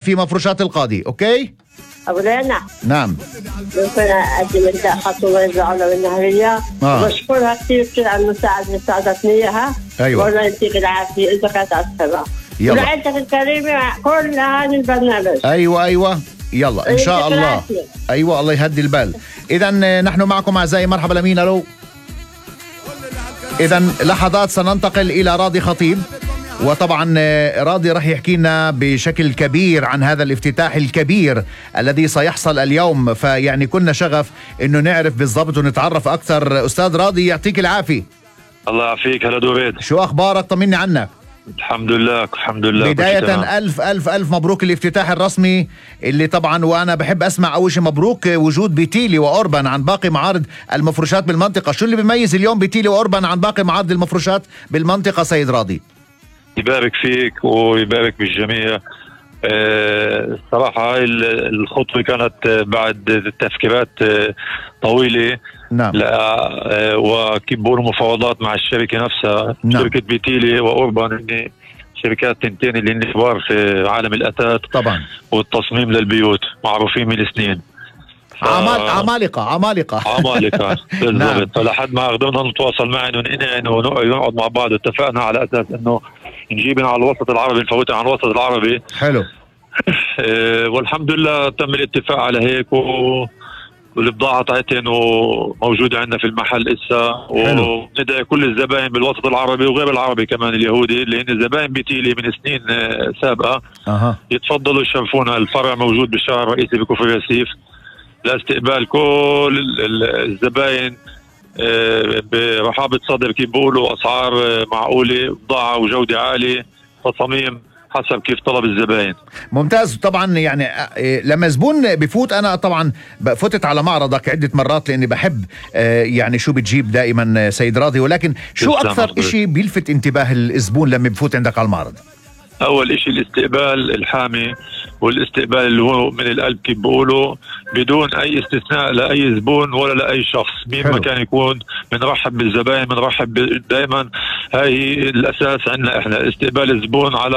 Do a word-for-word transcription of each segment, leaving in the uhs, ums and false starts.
في مفروشات القاضي. اوكي أولانا نعم ممكن أقدم لها خطوة يزعلوا منها هي آه. بشكرها كثير كثير على المساعدة اللي ساعدتني إياها. أيوة. والله يعطيك العافية إذا كانت على السماء. يلا. ولعيلتك الكريمة كل هذا البرنامج. ايوه ايوه يلا ان شاء الله. ايوه الله يهدي البال. اذا نحن معكم اعزائي. مرحبا لمين؟ الو. اذا لحظات سننتقل الى راضي خطيب، وطبعا راضي رح يحكي لنا بشكل كبير عن هذا الافتتاح الكبير الذي سيحصل اليوم، فيعني كنا شغف انه نعرف بالضبط ونتعرف اكثر. استاذ راضي يعطيك العافيه. الله يعافيك. هلا دوريد، شو اخبارك؟ طمني عنك. الحمد لله الحمد لله. بداية ألف ألف ألف مبروك الافتتاح الرسمي اللي طبعا، وأنا بحب أسمع أول شيء مبروك وجود بيتيلي وأوربان عن باقي معارض المفروشات بالمنطقة. شو اللي بيميز اليوم بيتيلي وأوربان عن باقي معارض المفروشات بالمنطقة سيد راضي؟ يبارك فيك ويبارك بالجميع. أه صراحة هاي الخطوة كانت بعد تفكيرات طويلة. نعم. لا أه وكيف بقولوا مفاوضات مع الشركة نفسها. نعم. شركة بيتيلي وأوربان هن شركات تنتين اللي هن كبار في عالم الأثاث طبعا والتصميم للبيوت، معروفين من سنين. ف... عمال عمالقة عمالقة عمالقة بالضبط. نعم. فلحد ما قدرنا نتواصل معهم ونقنعهم ونقعد مع بعض، اتفقنا على أساس إنه نجيبنا على الوسط العربي، نفوتها على الوسط العربي. حلو. أه والحمد لله تم الاتفاق على هيك، و... والبضاعة تاعتهم وموجودة عندنا في المحل إسا، وندعي كل الزبائن بالوسط العربي وغير العربي كمان اليهودي اللي هن زبائن بيتيلي من سنين سابقة. أه. يتفضلوا يشرفونا. الفرع موجود بالشارع الرئيسي بكفر ياسيف لاستقبال كل الزبائن برحابة صدر، كيف بيقولوا أسعار معقولة، بضاعة وجودة عالية، تصاميم حسب كيف طلب الزبائن. ممتاز. طبعا يعني لما زبون بفوت، انا طبعا فتت على معرضك عدة مرات لاني بحب يعني شو بتجيب دائما سيد راضي، ولكن شو اكثر اشي بيلفت انتباه الزبون لما بفوت عندك على المعرض؟ اول اشي الاستقبال الحامي، والاستقبال اللي هو من القلب كيف بيقولوا، بدون اي استثناء لاي زبون ولا لاي شخص مين ما كان يكون. بنرحب بالزبائن، بنرحب دائما. هاي الاساس عندنا احنا، استقبال الزبون على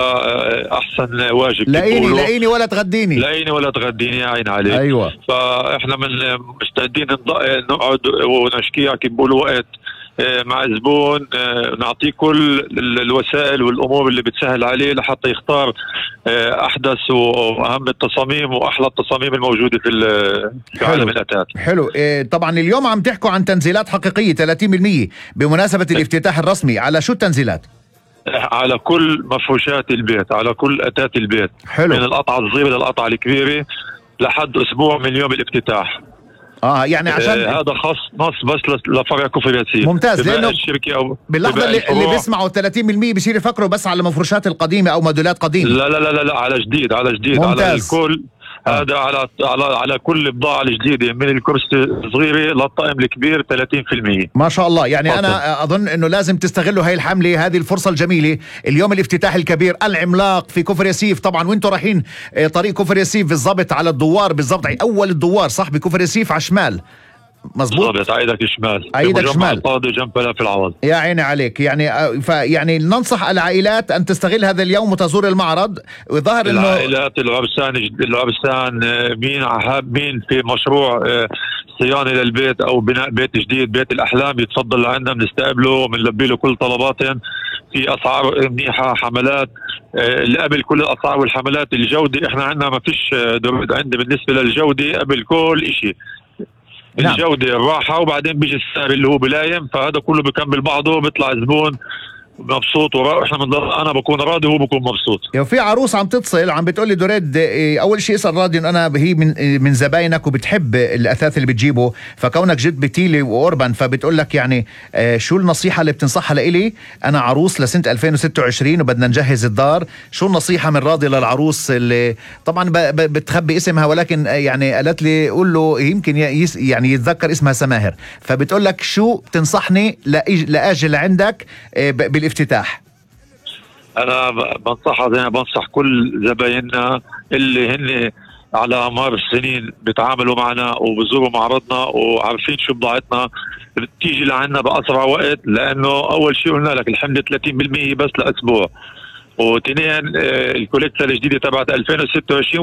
احسن واجب. لاقيني لاقيني ولا تغديني، لاقيني ولا تغديني يا عين عليك. ايوه. فاحنا من مستعدين نقعد ونشكيها كيف بيقولوا وقت مع الزبون، نعطيه كل الوسائل والامور اللي بتسهل عليه لحتى يختار احدث واهم التصاميم واحلى التصاميم الموجوده في عالم الاثاث. حلو. طبعا اليوم عم تحكوا عن تنزيلات حقيقيه ثلاثين بالمئة بمناسبه الافتتاح الرسمي. على شو التنزيلات؟ على كل مفروشات البيت، على كل اثاث البيت. حلو. من القطعه الصغيره للقطعه الكبيره لحد اسبوع من يوم الافتتاح. اه يعني عشان آه هذا خاص نص بس لفرع كفر ياسيف. ممتاز. لانه الشركه او باللحظه اللي, اللي بيسمعوا ثلاثين بالمئة بصير يفكروا بس على المفروشات القديمه او موديلات قديمه. لا لا لا لا على جديد، على جديد. ممتاز. على الكل. هذا على على على كل بضاعه الجديده، من الكرسي الصغيره للطقم الكبير ثلاثين بالمئة. ما شاء الله. يعني فضل. انا اظن انه لازم تستغلوا هاي الحمله، هذه الفرصه الجميله. اليوم الافتتاح الكبير العملاق في كفر ياسيف، طبعا وانتم رايحين طريق كفر ياسيف بالضبط على الدوار، بالضبط اول الدوار صح بكفر ياسيف على الشمال. مظبوط. بالضبط. عيدك شمال، عيدك شمال القاضي جنب بلا في العوض. يا عيني عليك. يعني فيعني ننصح العائلات ان تستغل هذا اليوم وتزور المعرض. وظهر انه العائلات العرسان العرسان مين حاب مين في مشروع صيانه للبيت او بناء بيت جديد، بيت الاحلام، يتفضل لعندنا بنستقبله وبنلبي له كل طلباتهم في اسعار منيحه. حملات اللي قبل كل الاسعار والحملات. الجوده احنا عندنا ما فيش عندي بالنسبه للجوده قبل كل شيء. نعم. الجودة الراحة، وبعدين بيجي السعر اللي هو بلايم، فهذا كله بكمل بعضه، بيطلع زبون مبسوط ورا... احنا من انا بكون راضي وهو بكون مبسوط. يعني في عروس عم تتصل عم بتقول لي دوريد، اول شيء اسال راضي انه انا هي من من زباينك وبتحب الاثاث اللي بتجيبه، فكونك جد بتيلي واوربان فبتقول لك يعني شو النصيحه اللي بتنصحها لإلي؟ انا عروس لسنه ألفين وستة وعشرين وبدنا نجهز الدار، شو النصيحه من راضي للعروس اللي طبعا ب... بتخبي اسمها، ولكن يعني قالت لي قول له يمكن يس... يعني يتذكر اسمها سماهر، فبتقول لك شو بتنصحني لأج... لاجي لعندك ب... الافتتاح؟ انا بنصحها زي ما بنصح كل زبايننا اللي هن على مر السنين بيتعاملوا معنا وبزوروا معرضنا وعارفين شو بضاعتنا، بتيجي لعنا باسرع وقت، لانه اول شيء قلنا لك الحمله ثلاثين بالمئة بس لاسبوع. وتنين الكوليكسا الجديده تبعت ألفين وستة وعشرين